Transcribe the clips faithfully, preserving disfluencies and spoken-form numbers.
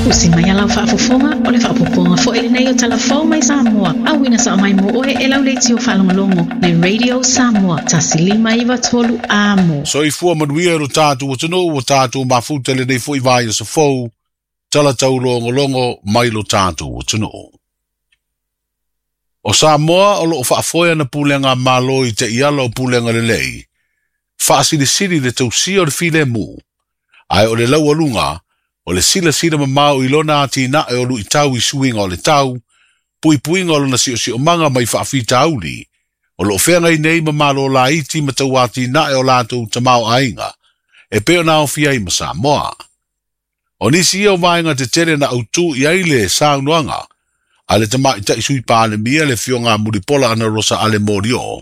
Usi mai alau faafofoga o le faapopoga foi lenei o talafou mai Samoa. Auina sa mai mo oe e lau leitio faalogologo le Radio Samoa tasi lima iva tolu amo. Soifua manuia lo tātou atunuu o tātou mafuta lenei foi vai o safou, tala taulogologo mai lo tātou atunuu. O Samoa o loo faafoe ana pulega malo i te iala o pulega lelei, faasilisili le tausia o le filemu, ae o le laualuga, o le silasila mamao i lona atinae o luitau i suiga o le tau, puipuiga o lona siosiomaga mai faafitauli, o loo feagai nei ma malo laiti ma tau atinae o latou tamaoaiga, e pei ona aofia ai ma Samoa. O nisi ia o vaega tetele na autū i ai le saunoaga, a le tamaitai sui Palemia le Afioga Mulipola Anarosa Ale Molioo,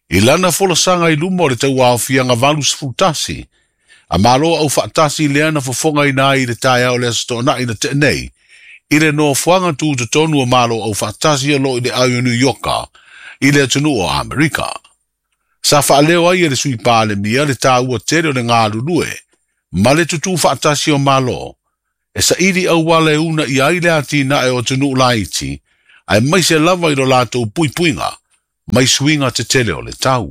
i lana folasaga i luma o le tauaofiaga valu sefulu tasi, a malo au faatasi lea na fofogaina ai i le taeao le aso toonai na tea nei, i le nofoaga tutotonu o malo au faatasi o loo i le au o New Yorka, i le atunuu o Amerika. Sa faaleo ai e le sui Palemia le tāua tele o le galulue, ma le tutū faatasi o malo, e saili auala e una i ai le atinae o atunuu laiti, aemaise lava i lo latou puipuiga, mai suiga tetele o le tau.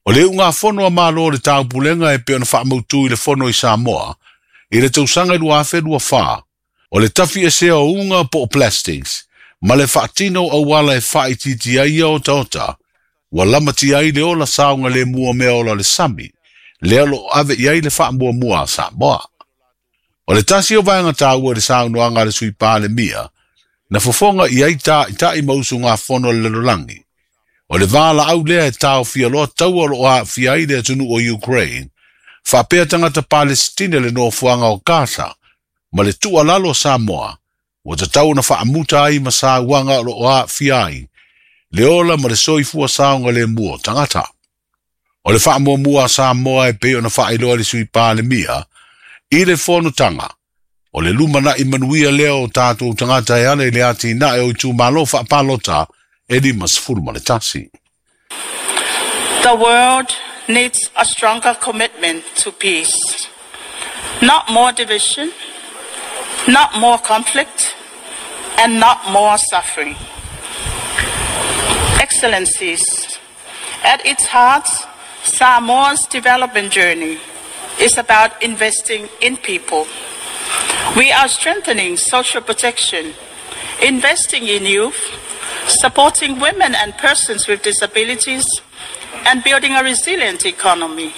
O le iugafono a malo o le taupulega e pei ona faamautu i le fono i Samoa, i le tausaga i lua afe lua fa, o le tafiesea o uga po o plastics, ma le faatino o auala e faaitiitia ai ia otaota, ua lamatia ai le ola saogalemu o mea ola o le sami, lea o loo ave i ai le faamuamua a Samoa. O le tasi o vaega taua i le saunoaga a le sui Palemia, na fofoga i ai taitai ma usugafono a le lalolagi. O le valaau lea e taofia loa taua o loo aafia ai le atunuu o Ukraine, faapea tagata Palestine le nofoaga o Gaza, ma le tuualalo a Samoa, ua tatau ona faamuta ai ma sauaga o loo aafia ai, le ola ma le soifua saogalemu o tagata. O le faamuamua a Samoa e pei ona faailoa le sui Palemia, i le fonotaga, o le lumanai manuia lea o tātou tagata e ala i le atinae o itumalo faapalota e lima sefulu ma le tasi. The world needs a stronger commitment to peace. Not more division, not more conflict, and not more suffering. Excellencies, at its heart, Samoa's development journey is about investing in people. We are strengthening social protection, investing in youth, supporting women and persons with disabilities, and building a resilient economy.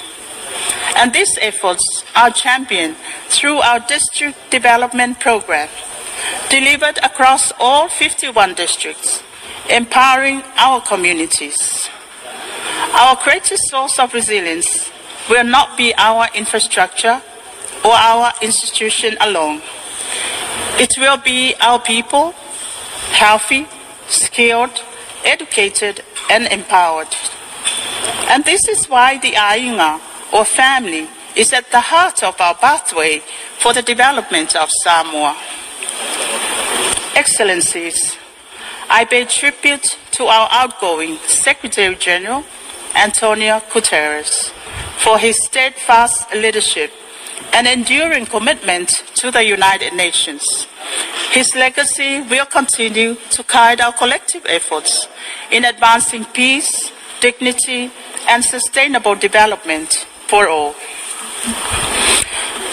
And these efforts are championed through our district development program, delivered across all fifty-one districts, empowering our communities. Our greatest source of resilience will not be our infrastructure or our institution alone. It will be our people, healthy, skilled, educated, and empowered. And this is why the Aiga, or family, is at the heart of our pathway for the development of Samoa. Excellencies, I pay tribute to our outgoing Secretary General, Antonio Guterres, for his steadfast leadership and enduring commitment to the United Nations. His legacy will continue to guide our collective efforts in advancing peace, dignity, and sustainable development for all.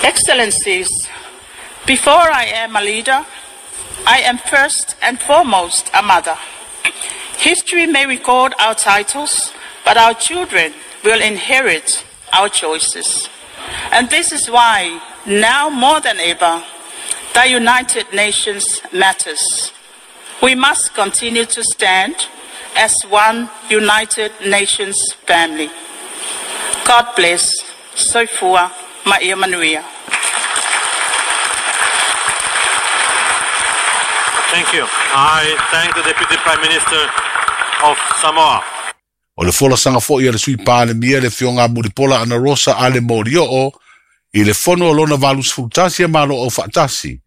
Excellencies, before I am a leader, I am first and foremost a mother. History may record our titles, but our children will inherit our choices. And this is why, now more than ever, the United Nations matters. We must continue to stand as one United Nations family. God bless. Soifua ma ia manuia. Thank you. I thank the Deputy Prime Minister of Samoa. O le folasaga foi a le sui Palemia le Afioga Mulipola Anarosa Ale Molioo i le fono o lona valu sefulu tasi a malo au faatasi,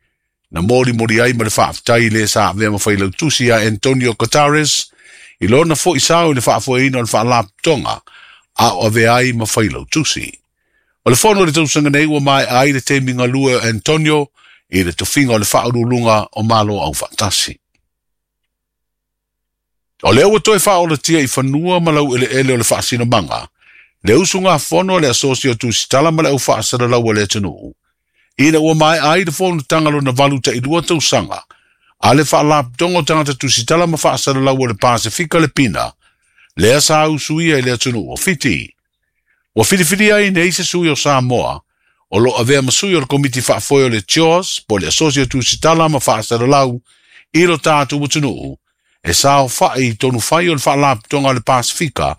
na molimoli ai ma le faafetai le sa avea ma failautusi a Antonio Guterres i lona foi sao i le faafoeina o le faalapotopotoga a o avea ai ma failautusi. O le fono o le tausaga nei ua maea ai le taimi galue o Antonio I le tofiga o le faauluuluga o Malo Aufaatasi. O lea ua toe faaolatia i fanua ma laueleele o le faasinomaga, le usugafono a le Asosi o Tusitala ma le Au Faasalalau a le atunuu, ina ua maea ai le fonotaga lona valu tailua tausaga, a le faalapotopotoga o tagata tusitala ma faasalalau o le Pasefika le Pina, lea sa usuia i le atunuu o Fiti. Ua filifilia ai nei se sui o Samoa, o lo avea ma sui o le komiti faafoe o le C H O S, po le Asosi o Tusitala ma Faasalalau, i lo tatou atunuu, e saofai i tonu fai o le faalapotopotoga o le Pasefika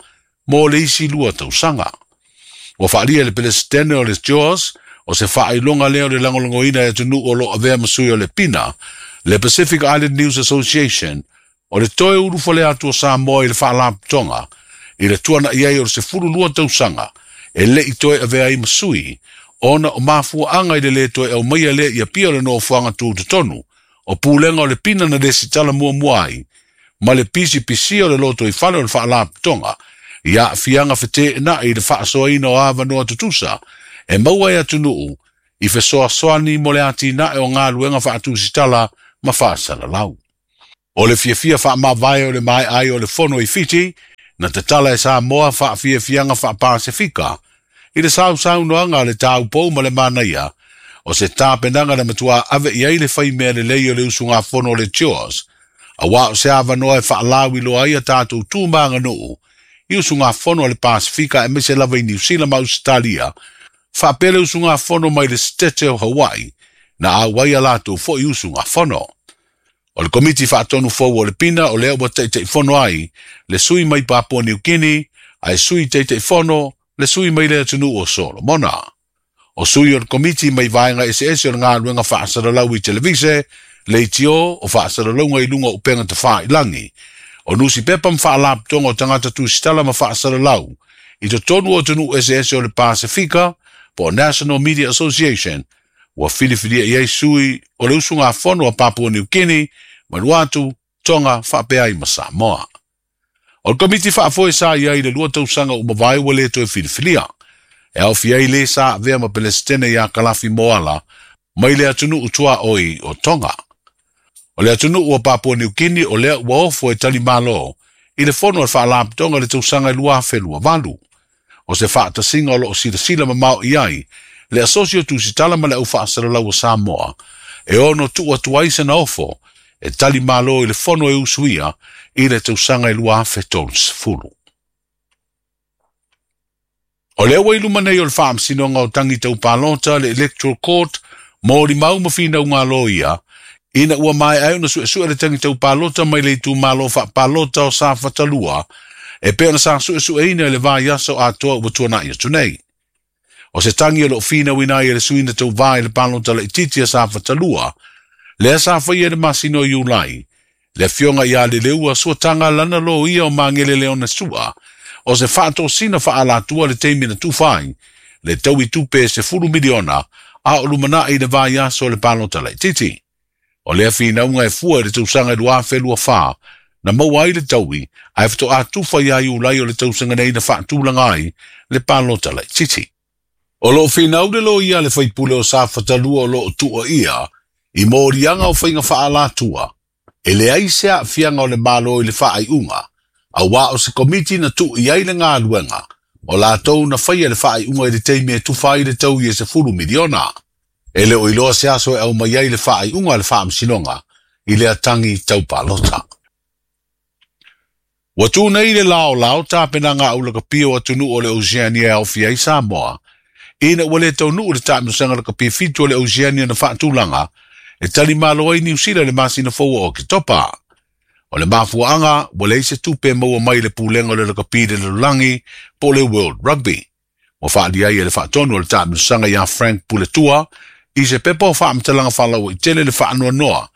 mo le isi lua tausaga. Ua faalia le Pelesitene o le C H O S, o se faailoga lea o le lagolagoina e atunuu o lo avea ma sui o le Pina, le Pacific Island News Association, o le toe ulufale atu o Samoa i le faalapotopotoga, i le tuana'i ai o le sefulu lua tausaga, e le'i toe avea ai ma sui, ona o mafuaaga i le lē toe aumaia lea ia pia o le nofoaga tutotonu, o pulega o le Pina na lesitala muamua ai, ma le pisipisia o le lotoifale o le faalapotopotoga, i aafiaga feteenai i le faasoaina o avanoa tutusa, e maua e atunuu, i fesoasoani mo le atinae o galuega faatusitala ma faasalalau. O le fiafia faamavae o le maeai o le fono i Fiti, na tatala e Samoa faafiafiaga faapasefika, i le sausaunoaga a le taupou ma le manaia, o se tapenaga na matuā ave i ai le faimea lelei o le usugafono o le C H O S, auā o se avanoa e faalauiloa ai a tatou tu ma aganuu, i usugafono a le Pasefika aemaise lava i Niusila ma Ausetalia, faapea le usugafono mai le Setete o Hawaii, na auai a latou fo'i usugafono. O le komiti faatonu fou o le Pina o lea ua taitaifono ai, le sui mai Papua Niu Kini, ae sui taitaifono le sui mai le atunuu o Solomona. O sui o le komiti mai vaega eseese o le galuega faasalalau i televise, leitio o faasalalauga i luga o upega tafailangi, o nusipepa ma faalapotopotoga o tagata tusitala ma faasalalau, i totonu o atunuu eseese o le Pasefika, po o National Media Association, ua filifilia i ai sui o le usugafono a Papua Niu Kini, Vanuatu, Tonga, faapea ai ma Samoa. O le komiti faafoe sa i ai le lua tausaga ua mavae ua lē toe filifilia. E aofia ai lē sa avea ma Pelesitene iā Kalafi Moala mai le atunuu tuaoi o Tonga. O le atunuu o Papua Niu Kini o lea ua ofo e tali malo i le fono a le faalapotopotoga i le tausaga e lua afe lua valu. O se faatasiga o loo silasila mamao i ai le Asosi o Tusitala ma le Au Faasalalau o Samoa, e ono tuu atu ai sena ofo e tali malo i le fono e usuia i le tausaga e lua afe tolusefulu. O lea ua i luma nei o le faamasinoga o tagi taupalota le Electoral Court mo limau ma finauga loia, ina ua maea ai ona suesue le tagi taupalota mai le itumalo faapalota o Safatalua, e pei ona sa suesueina i le vaiaso atoa ua tuana'i atu nei. O se tagi o loo finauina ai e le suina tauvā i le palota laitiiti a Safatalua, lea sa faia i le masina o Iulai, le afioga iā Leleua suataga lana loia o Magele Leona Sua, o se faatosina faalatua le taimi na tufa ai, le taui tupe e sefulu miliona, a o lumana'i i le vaiaso o le palota laitiiti. O lea finauga e fua i le tausaga i lua afe lua fā, na maua ai le taui, ae fetoā tufa iā Iulai o le tausaga nei na faatulaga ai le palota laitiiti. O loo finau le loia le faipule o Safatalua o loo tuuaia, i moliaga o faiga faalatua, e leai se aafiaga o le Malo i le faaiuga, auā o se komiti na tuu i ai le galuega, o latou na faia le faaiuga i le taimi e tufa ai le taui e sefulu miliona. E le o iloa se aso e aumai ai le faaiuga a le faamasinoga i le atagi taupalota. Ua tu nei le laolao tapenaga aulakapia o atunuu o le Oceania e aofia ai Samoa, ina ua lē taunuu le taamilosaga lakapi fitu o le Oceania na faatulaga, e tali malo ai Niusila i le masina fou o Oketopa. O le mafuaaga ua leai se tupe e maua mai le pulega o le lakapi i le lalolagi po o le World Rugby. Ua faalia ai e le faatonu o le taamilosaga iā Frank Puletua i se pepa o faamatalaga faalauaitele le faanoanoa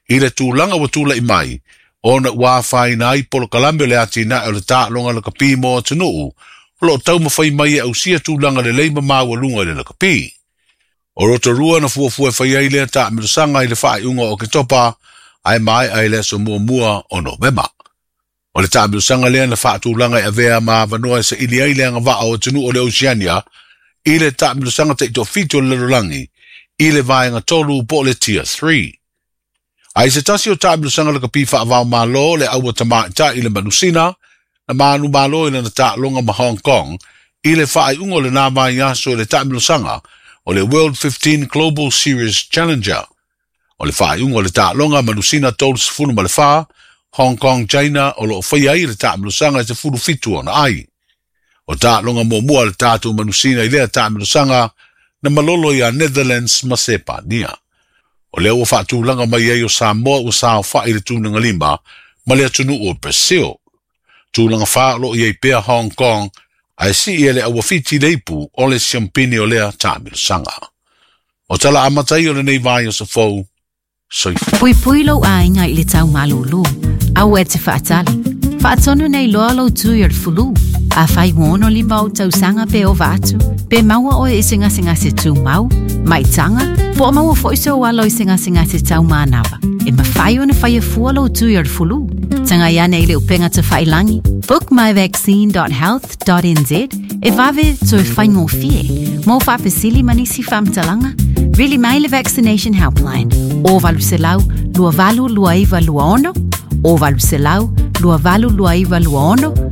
i le tulaga ua tula'i mai, ona ua afaina ai polokalame o le atinae o le taaloga lakapi mo atunuu, o loo taumafai mai e ausia tulaga lelei ma maualuga i le lakapi. O Rotorua na fuafua e fai ai lea taamilosaga i le faaiuga o Oketopa, ae maea i le aso muamua o Novema. O le taamilosaga lea na faatulaga e avea ma avanoa e saili ai le agavaa o atunuu o le Oceania i le taamilosaga taitoafitu o le lalolagi I le vaega tolu po o le Tier three. Ae i se tasi o taamilosaga lakapi faavao malo le aua tamaʻitaʻi le manusina na manumalo i lana taaloga ma Hong Kong i le faaiuga o lenā vaiaso i le taamilosaga o le World fifteen Global Series Challenger. O le faaiuga o le taaloga manusina tolu ma le fa Hong Kong China o loo faia ai le taamilosaga i sefulu fitu ona ai. O taaloga muamua le tatou manusina i lea taamilosaga na malolo ia Netherlands ma Sepania. O lea ua faatulaga mai ai o Samoa ua saofaʻi le tulaga lima ma le atunuu o Brazil. Tulaga fa o loo i ai pea Hong Kong ae sii e le auafiti le ipu o le siampini o lea taamilosaga. O tala amata ia o lenei vaiaso fou. Soifua. Puipui lou aiga i le taumalūlū. Aua e te faatali. Faatonu nei loa lou tui o le fulu. Afai ua ono lima ou tausaga pe ova atu, pe maua oe i se gasegase tumau, maitaga, po o maua foi sou alo i se gasegase taumanava. E mafai ona faia fua lou tui o le fulu. Tagai ane i le upega tafailagi, book my vaccine dot health dot n z e vave toe faigofie. Mo faafesili ma nisi faamatalaga, vili mai le Vaccination Helpline o valu selau lua valu lua iva lua ono o valu selau lua valu lua iva lua ono.